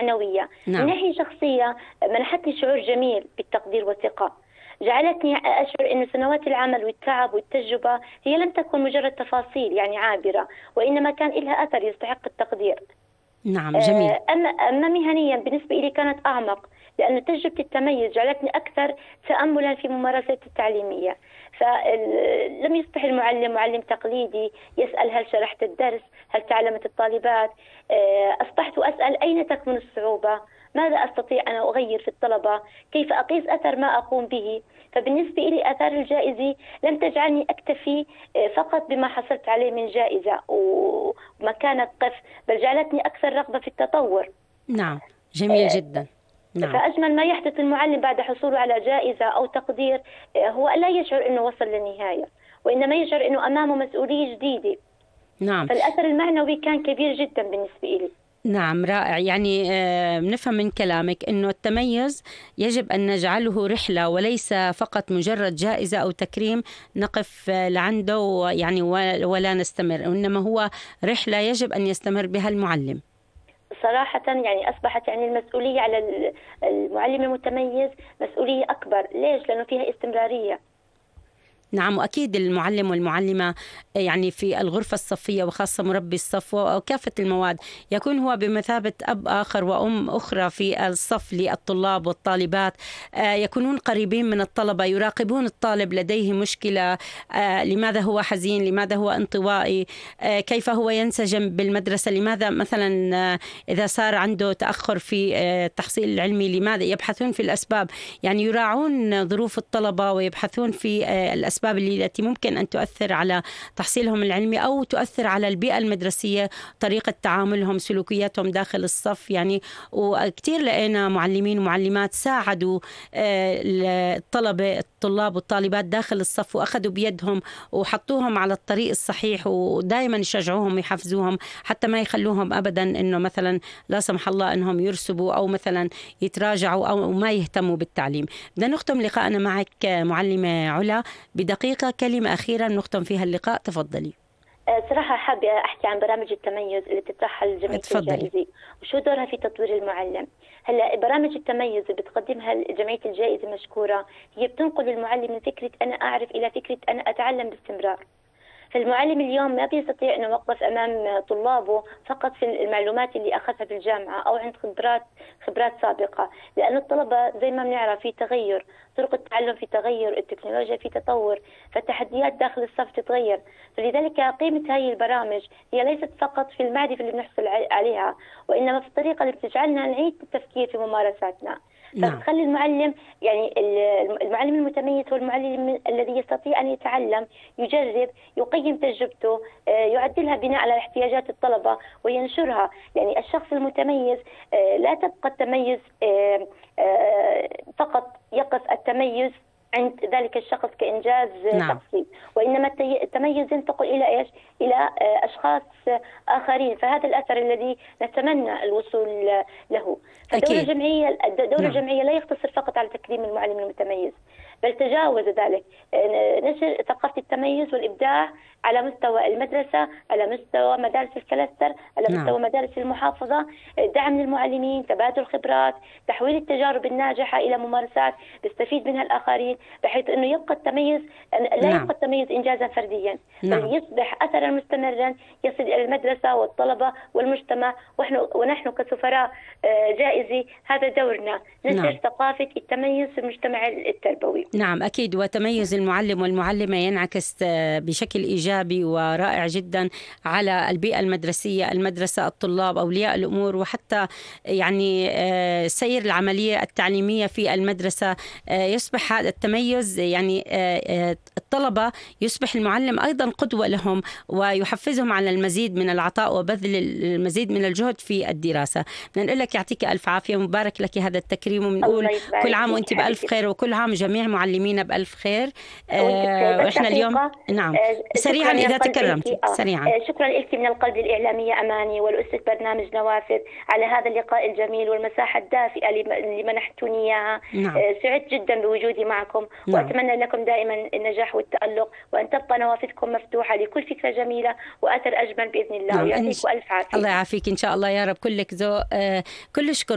معنوية. من نعم. ناحية شخصية منحتني شعور جميل بالتقدير والثقة، جعلتني أشعر أن سنوات العمل والتعب والتجربة هي لم تكن مجرد تفاصيل يعني عابرة، وإنما كان لها أثر يستحق التقدير. نعم جميل. أما مهنيا بالنسبة لي كانت أعمق، لأن تجربة التميز جعلتني أكثر تأملا في ممارساتي التعليمية. فلم يصبح المعلم معلم تقليدي يسأل هل شرحت الدرس، هل تعلمت الطالبات. أصبحت أسأل أين تكمن الصعوبة، ماذا أستطيع أن أغير في الطلبة، كيف أقيس أثر ما أقوم به. فبالنسبة لي آثار الجائزة لم تجعلني أكتفي فقط بما حصلت عليه من جائزة ومكانة قف، بل جعلتني أكثر رغبة في التطور. نعم جميل جدا. نعم. فأجمل ما يحدث المعلم بعد حصوله على جائزة أو تقدير هو لا يشعر أنه وصل للنهاية، وإنما يشعر أنه أمامه مسؤولية جديدة. نعم. فالأثر المعنوي كان كبير جدا بالنسبة لي. نعم رائع. يعني بنفهم من كلامك إنه التميز يجب أن نجعله رحلة وليس فقط مجرد جائزة أو تكريم نقف لعنده يعني ولا نستمر، إنما هو رحلة يجب أن يستمر بها المعلم. صراحة يعني أصبحت يعني المسؤولية على المعلم المتميز مسؤولية أكبر. ليش؟ لأنه فيها استمرارية. نعم. وأكيد المعلم والمعلمة يعني في الغرفة الصفية وخاصة مربي الصف وكافة المواد يكون هو بمثابة أب آخر وأم أخرى في الصف للطلاب والطالبات، يكونون قريبين من الطلبة، يراقبون الطالب لديه مشكلة، لماذا هو حزين، لماذا هو انطوائي، كيف هو ينسجم بالمدرسة، لماذا مثلا إذا صار عنده تأخر في التحصيل العلمي لماذا، يبحثون في الأسباب، يعني يراعون ظروف الطلبة ويبحثون في الأسباب التي ممكن أن تؤثر على تحصيلهم العلمي أو تؤثر على البيئة المدرسية، طريقة تعاملهم، سلوكياتهم داخل الصف. يعني وكتير لقينا معلمين ومعلمات ساعدوا الطلاب والطالبات داخل الصف وأخذوا بيدهم وحطوهم على الطريق الصحيح، ودائما يشجعوهم ويحفزوهم حتى ما يخلوهم أبدا إنه مثلا لا سمح الله إنهم يرسبوا أو مثلا يتراجعوا أو ما يهتموا بالتعليم. بدنا نختم لقاءنا معك معلمة علا بدقيقة، كلمة أخيرة نختم فيها اللقاء، تفضلي. صراحة حابة أحكي عن برامج التميز اللي بتطرحها الجمعية الجائزة وشو دورها في تطوير المعلم. هلا برامج التميز اللي بتقدمها جمعية الجائزة مشكورة، هي بتنقل المعلم من فكرة أنا أعرف إلى فكرة أنا أتعلم باستمرار. فالمعلم اليوم ما بيستطيع أن يوقف أمام طلابه فقط في المعلومات اللي أخذها في الجامعة أو عند خبرات سابقة، لأن الطلبة زي ما بنعرف في تغير، طرق التعلم في تغير، التكنولوجيا في تطور، فالتحديات داخل الصف تتغير. فلذلك قيمة هذه البرامج هي ليست فقط في المعرفة اللي بنحصل عليها، وإنما في الطريقة اللي بتجعلنا نعيد التفكير في ممارساتنا. فتخلي المعلم يعني المعلم المتميز هو المعلم الذي يستطيع أن يتعلم، يجرب، يقيم تجربته، يعدلها بناء على احتياجات الطلبة وينشرها. يعني الشخص المتميز لا تبقى التميز فقط يقف التميز عند ذلك الشخص كإنجاز شخصي، وإنما التميز ينتقل إلى إيش؟ إلى أشخاص آخرين. فهذا الأثر الذي نتمنى الوصول له. فدور الجمعية لا يقتصر فقط على تكريم المعلم المتميز، بل تجاوز ذلك، نشر ثقافة التميز والإبداع على مستوى المدرسة، على مستوى مدارس الكلاستر، على مستوى مدارس المحافظة، دعم للمعلمين، تبادل خبرات، تحويل التجارب الناجحة إلى ممارسات بيستفيد منها الآخرين، بحيث أنه يبقى التميز لا يبقى التميز إنجازا فرديا، بل يصبح أثرا مستمرا يصل إلى المدرسة والطلبة والمجتمع. ونحن كسفراء جائزة هذا دورنا، نشر ثقافة التميز في المجتمع التربوي. نعم أكيد. وتميز المعلم والمعلمة ينعكس بشكل إيجابي ورائع جدا على البيئة المدرسية، المدرسة، الطلاب، أولياء الأمور، وحتى يعني سير العملية التعليمية في المدرسة. يصبح هذا التميز يعني الطلبة يصبح المعلم أيضا قدوة لهم ويحفزهم على المزيد من العطاء وبذل المزيد من الجهد في الدراسة. بنقول لك يعطيك ألف عافية ومبارك لك هذا التكريم، وبنقول كل عام وأنت بألف خير، وكل عام جميع معلمينا بألف خير. وإحنا اليوم نعم سريعا إذا تكرمت سريعا. شكرا لك من القلب الإعلامية أماني والأستاذ برنامج نوافذ على هذا اللقاء الجميل والمساحة الدافئة اللي منحتوني إياها. سعدت جدا بوجودي معكم، وأتمنى لكم دائما النجاح والتألق، وأن تبقى نوافذكم مفتوحة لكل فكرة جميلة وأثر أجمل بإذن الله. ويعطيك ألف عافية. الله يعافيك إن شاء الله يا رب. كلك ذوق. كل شكر